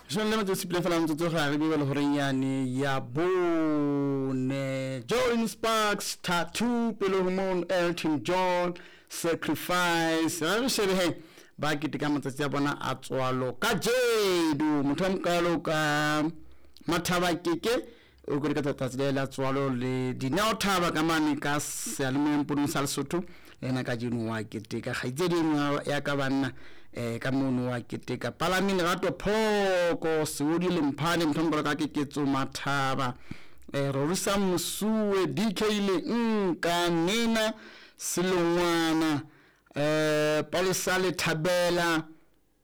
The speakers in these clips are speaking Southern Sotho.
Jwale le metsotso supileng fela motsotso ga re bebele horeng yane ya bone. Jolin Sparks Tattoo pele ho mono Elton John Sacrifice. Ra re shebe he ba keteka matsatsi a bona a tswalo kajeno. Motho a mokalo ka Mathaba Keke o keteka tsatsi le la tswalo le Dineo Thaba ka mane ka seyalemoyeng ponong sa Lesotho le yena kajeno wa keteka. Kgaitsedi e nngwe ya ka banna ka mono wa keteka. Palame Lerato Phoko Seodi Lemphane motho a mokalo ka Keketso Mathaba Rorisa Mosuwe DK le Nka Nena Selongwana Palesa Lethabela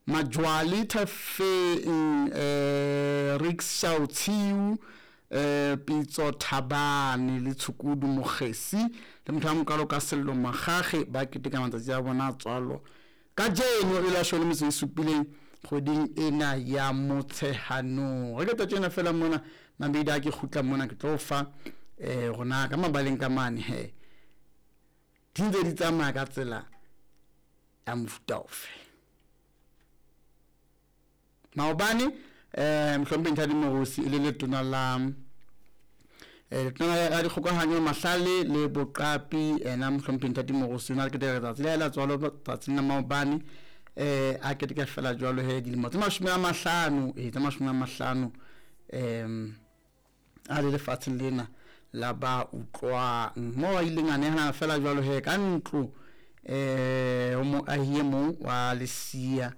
Majwali Thafeng Rickshaw Tshiu Pitso Thabane le Tshukudu Mokgesi le motho a mokalo ka Sello Magage ba keteka matsatsi a bona a tswalo kajeno e la shole metso e supileng kgweding ena ya Motsheganong. Re ke tjena fela mona mabedi a ke kgutla mona ke tlo fa rona ka mabaleng ka mane he di ntse di tsamaya ka tsela ya mofuta ofe. Maobane mohlomphehi Nthati Morusi e le letona la letona la dikgokahanyo mahlale le boqapi ena mohlomphehi Nthati Morusi o na le keteka letsatsi le la tswalo tsatsing la maobane a keteka fela jwalo he dilemo tse 50 tse 50 a le lefatsheng lena la ba utlwang mo a ileng a nehelana fela jwalo he ka ntlo ho moahi e mong wa Lesia.